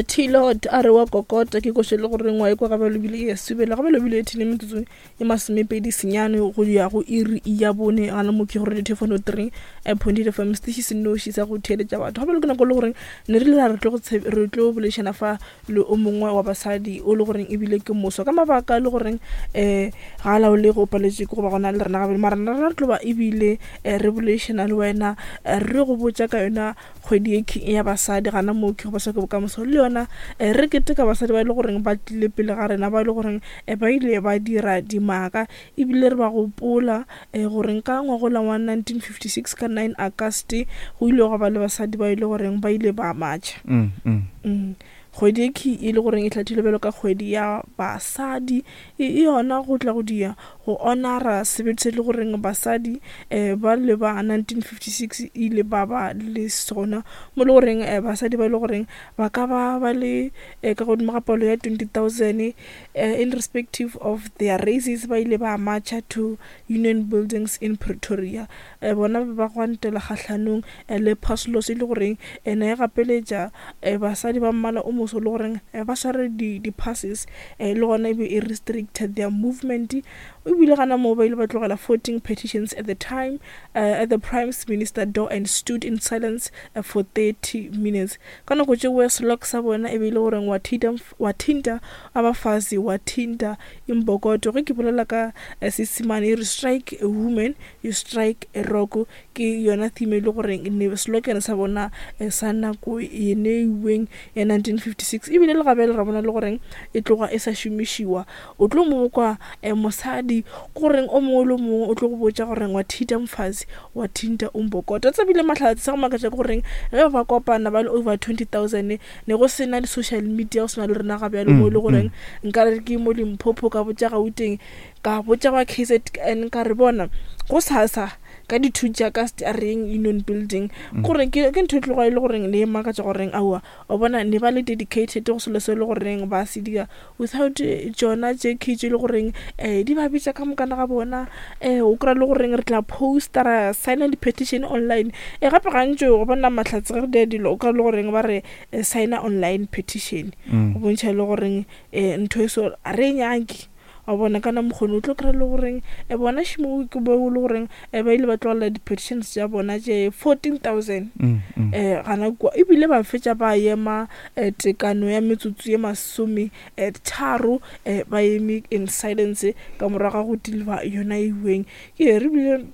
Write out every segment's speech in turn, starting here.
T-Lord a re wa kokota ke koše le goreng wa ekwa gabjalo ebile e a subela gabjalo ebile e thile metsotso e masomepedi senyane go ya go iri ya bone gana mo ke gore dithefano 3 point eight fm setiši se noši sa go theeletša batho gabjalo ke nako le goreng ne re le ra re tlo re tlo boledišana fa le o mongwe wa basadi o le goreng ebile ke moswa ka mabaka le goreng um ga a laole go paletše ke go ba gona le rena gabjalo mara rena re tlo ba ebile re boledišana le wena re go botša ka yona Kgwedi ye ke ya basadi gana moo ke go basadi ke bokamoso le yona eh, re keteka basadi ba e le goreng ba tlile pele ga rena ba e le goreng eh, ba ile ba dira dimaka ebile re ba gopola eh, goreng ka ngwagola wa 1956 ka 9 August go ile gwa ba le basadi ba e le goreng ba ile ba matšha mm, mm. Mm. Kgwedi ye ke e le goreng e hlathilwe bjalo ka kgwedi ya basadi e yona go tla go dia go honora sebete se le goreng basadi um ba le ba 1956 ile ba ba le sona mo le goreng um basadi ba e le goreng ba ka ba ba le um ka godimo ga palo ya 20,000 um in respective of their races ba ile ba marcha to Union Buildings in Pretoria. Um bona ba gwantela kgahlanong le pass laws e le goreng ne e gapeletša basadi ba mmala o moso le goreng ba sware di-passes le gona e be e restricted their movement. Ebile gana moo ba ile ba tlogela 14 petitions at the time at the prime minister door and stood in silence for 30 minutes. Ka nako tšeo slog sa bona e be e le goreng wa thinta abafazi wa thinta imbokodo. Ge ke bolela ka Seesemane e re strike a woman you strike a rock, ke yona theme e le goreng ne slogan sa bona eh, sa nako e neiweng ya 1956 ebile le gabele ra bona le goreng e tloga e sa šomišiwa. O tlo mo kwa eh, mosadi goreng o mongwe le o mongwe o tlo go botša goreng wa thinta mfazi wa thinta umbokoto. Tsebile mahlatse sa go makatša ke goreng ge ba kopana ba le over 20,000 ne go sena di-social media go sena le rena ga bjalo mo e le goreng nka re ke mo Limpopo ka botša Gauteng ka botša ba K_Z_N ka re bona go sasa ka di-two tša ka a reng union building gore ke ke ntho e tloga e le goreng ne e makatša goreng aowa o bona ne ba le dedicated go selo se e le goreng ba se dira without tšona tše ke tše e le goreng um di ba bitša ka mokana ga bona um o kry-a le goreng re tla poster ra signa di-petition online e gape gantši go bona mahlatse ge re dira dilo o kry-a le goreng ba re signa online petition go bontšha e le goreng um ntho e so ga re e nyake. Wa bona kana mokgoni o tlo kry-a le goreng e bona šimo ke bo le goreng e ba ile ba tlogela di-petitions tša bona tše 14,000 um gana kua ebile ba fetša ba ema um tekano ya metsotso ye masome tharo um ba eme in silence ka morago ga go deliver yona eweng ke re bile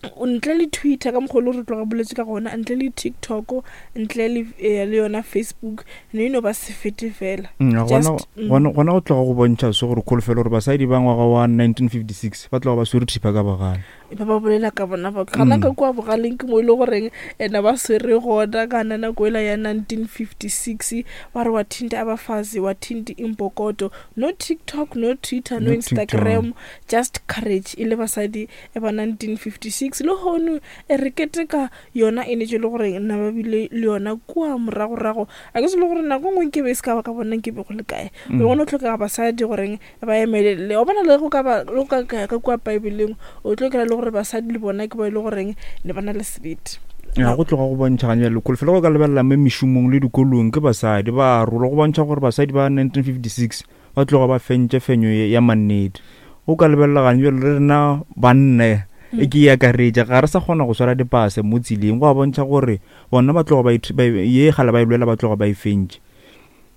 ntle le Twitter ka mokgwa o le re tloga boletse ka gona ntle le TikTok ntle le eh, le yona Facebook ne e no ba sefete fela mm, mm. gona go tloga go bontšha se gore kholofelo gore basadi ba ngwaga wa 1956 ba tloga ba swere thipa ka bogale ba ba bolela ka bona ba gana ka mm. kua bogaleng ke mo e le goreng ena ba swere gona kana nako ela ya 1956 ba re wa thinta abafazi wa thinti imbokodo no TikTok no Twitter no, no Instagram just courage e le basadi e ba 1956 lehono e re keteka yona e netše le gore nna ba bile le yona kua moragorago a ke se le gore nako nngwe nke be e se ka ba ka bona nke be go le kae mm. be gone tlhokega basadi goreng ba emelele o bona le go ka ba le go ka ka kua paebeleng o tlo kry le gore basadi le bona ke ba e le goreng ne ba na le sebete ya go tloga go bontšha ganya lekolo fela go ka lebelela mo mešomong le dikolong ke basadi ba rola go bontšha gore basadi ba 1956 ba tloga ba fentše fenyo ya mannete. O ka lebelela gane bjalo le rena banna e ke e akaretša ga re sa kgona go swara dipase mo tseleng go a bontšha gore bona ba tloga ba ye gale ba e lwela ba tloga ba e fentše.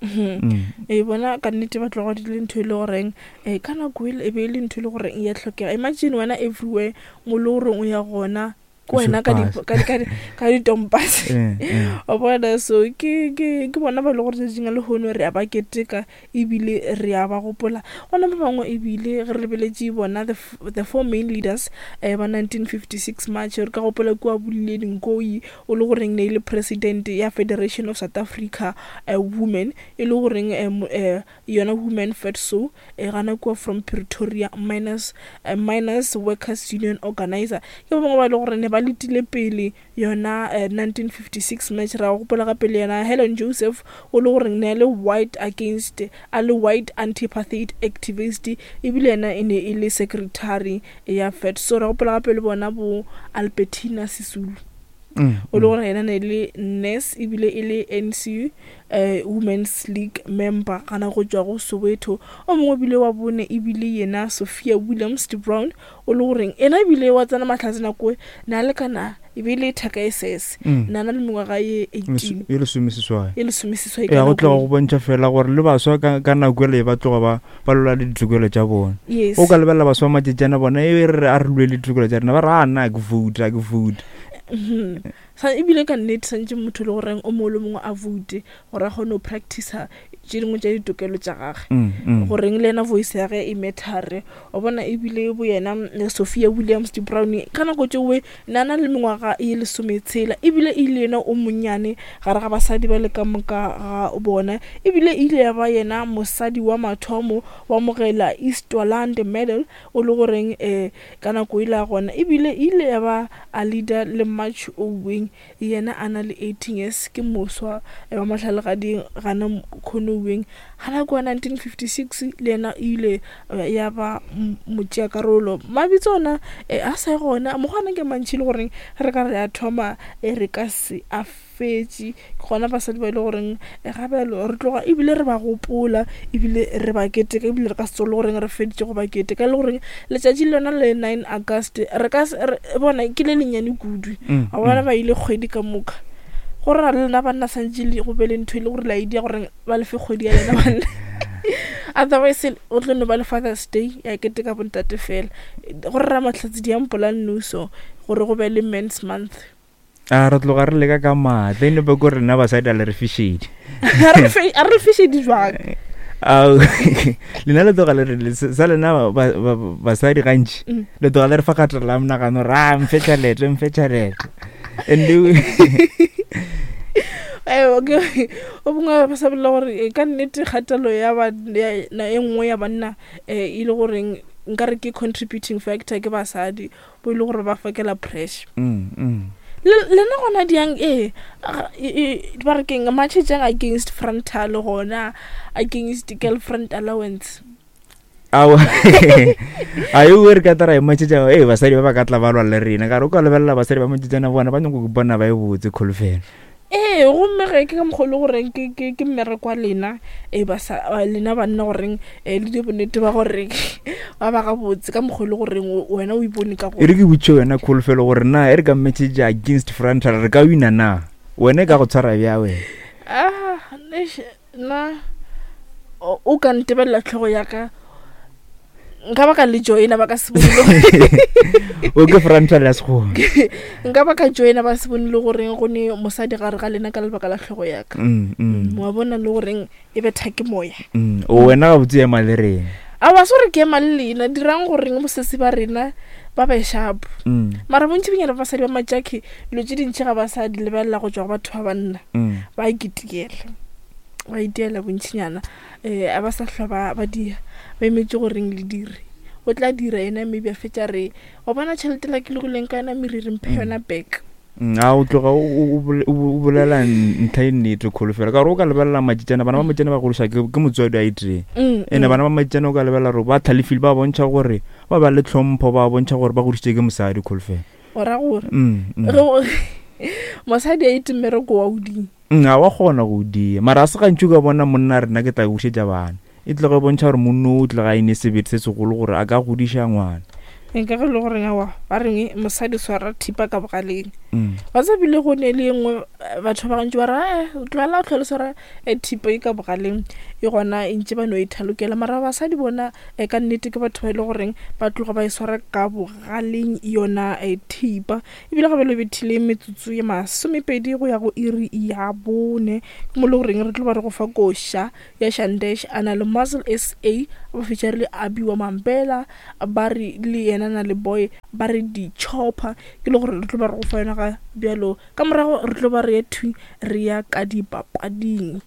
Mm. E bona ka nnete ba tloga di le ntho e le goreng um ka nako e be e le ntho e le goreng ya tlhokega imagine wena everywhere mo le goreng o ya gona ke wena ka ditompase eh, eh. wa bona so ke bona ba e le gore tšatšing a lehono re a ba keteka ebile re a ba gopola gona ba bangwe ebile ge re lebeletše bona the four main leaders um ba 1956 march re ka gopola kua Bolile Nkoi o le goreng ne e le president ya Federation of South Africa Women e le goreng um yona Women FEDSAW e gana kua from Pretoria Miners, uh, Miners Workers Union Organizer ke ba bangwe ba e le gore ne ba letile pele yona uh, 1956 match ra gopola gape le yena Helen Joseph o le gore ne a le white against a le white anti-apartheid activist ebile yena e ne e le secretary ya FEDSAW ra gopola gape le bona bo Albertina Sisulu. O le gore yena ne le nurse ebile e le NC Women's League member gana go tšwa go Soweto. O mongwe ebile wa bone ebile yena Sophia Williams de Brown, o le goreng yena ebile wa tsena mahlatse nako e na le kana e be e le thaka e sese, na na le mengwaga ye 18, e lesomeseswai, e lesomeseswai. Ya go tloga go bontšha fela gore le baswa ka nako ele ba tloga ba ba lwela le ditokelo tša bona. Yes. O ka lebelela baswa ba matšatšana bona e re a re lwe le ditokelo tša rena, ba re a nna ke vote, a ke vote. Sa ebile ka nnete santše motho le goreng o mongwe le mongwe a vote gore a kgone go practicer tše dingwe tša ditokelo tša gage, goreng le yena voice ya ge e matter. Wa bona ebile bo yena Sophia Williams de Brown ka nako tšeoe ne a na le mengwaga ye lesometshela, ebile e ile yena o monnyane gare ga basadi ba le ka moka ga bona, ebile e ile ya ba yena mosadi wa mathomo wa amogela Eastland Medal, o le goreng um ka nako ile a gona ebile e ile ya ba a leader le March Oweng, yena a na le 18 years, ke moswa wa mahlalagading gana Khonoweng gana kua 1956, le yena e ile ya ba motšeakarolo. Mabitso ona a sa gona mokgwa ke mantši le goreng re ka re a thoma re ka se a fetše. Ke gona basadi ba e le goreng ga bjalo re tloga ebile re ba gopola ebile re ba keteka, ebile re ka se tsoge le goreng re feditše go ba keteka, le goreng letšatši le lona le 9 August re ka bona ke le lennyane kudu. A bona ba ile kgwedi ka moka, go ra le lena banna santše le go be le ntho e le gore la idea gore ba lefe kgwedi ya lena banna, otherwise o tlo no ba le Father's Day ya keteka bontate fela. Go rera mahlatse diampola nnoso gore go be le Men's Month. A re tloga re leka ka maatla e nepe ko rena basadi a le re fišedi. A re fišedi jwang? Lena le tloga le re sa lena basadi gantši le tloga le re fa kgatelo la monagano ra mfe tšhelete, mfe tšhelete and o bongwe ba sa bolela gore ka nnete kgatelo ya e nngwe ya banna e le goreng nka re ke contributing factor ke basadi bo e le gore ba fokela pressure. Lena gona diang e ba re keng matšhetšang against frontal gona against girlfriend allowance. Ao a yo re ka tara e matšhetša e basadi ba ba ka tla ba lwa le rena ka re o ka lebelela basadi ba matšhetšana bona ba nyako bona ba e botse kholofelo. Ee, gomme ge ke ka mokgwa o le goreng ke mmereko wa lena, e lena banna goreng le dire bonnete ba gore ba ba gabotse ka mokgwa o le goreng wena o ipone ka gona. E re ke botše wena Kholofelo gore na e re ka message against frontal re ka wina na? Wena e ka go tshwara bja wena? Ah, nna o ka ntebelela tlhogo ya ka nka ba ka le joina ba ka se bone o ke frontal ya sekgowa nka ba ka joina ba se bone le goreng go ne mosadi gare ga lena ka lebaka la tlhogo ya ka. Wa bona le goreng e betha ke moya. O wena ga botse ema le rena. A wa se gore ke ema le lena dirang goreng bosesi ba rena ba be sharp. Mara bontši bonyana ba basadi ba matšakhe dilo tše dintši ga ba sa di lebelela go tšwa go batho ba banna. Ba iketikela, ba itiela bontšinyana. A ba sa hlwa ba dia, ba emetše goreng le dire. O tla dira yena maybe a fetša re wa bona tšhelete la ke logileng ka yona meriri mphe yona back. A o tloga o bolela ntlha e nnete Kholofelo ka gore o ka lebelela matšitšana bana ba matšitšana ba gološa ke motswadi a itee. Ene bana ba matšitšana o ka lebelela gore ba tlhalefile, ba bontšha gore ba ba le tlhompho, ba bontšha gore ba godišitše ke mosadi Kholofelo. O ra gore mosadi a ite mmereko wa o ding. Ga wa kgona go o dia mara a se gantši o ka bona monna a re nna ke tla bušetša bana. E tloga e bontšha gore monna o tloga a ene sebete se segolo gore a ka godiša ngwana. Nka ge e le goreng aowa ba reng mosadi swara thipa ka bogaleng. Wa tseba bile go ne le e nngwe batho ba gantši ba re ee tlogela o tlhole swara thipa e ka bogaleng e gona e ntše ba no e thalokela. Mara basadi bona ka nnete ke batho ba e le goreng ba tloga ba e swara ka bogaleng yona thipa. Ebile ga bjalo bethile metsotso ye masomepedi go ya go iri ya bone, ke mo le goreng re tlo ba re go fa koša ya Shandesh a na le Muzzle SA ba fetša re le Abi wa Mampela ba re le yena na le boy ba re di chopper ke le gore re tlo ba re go fa yona ga bjalo ka morago re tlo ba re ye thwi re ya ka dipapading.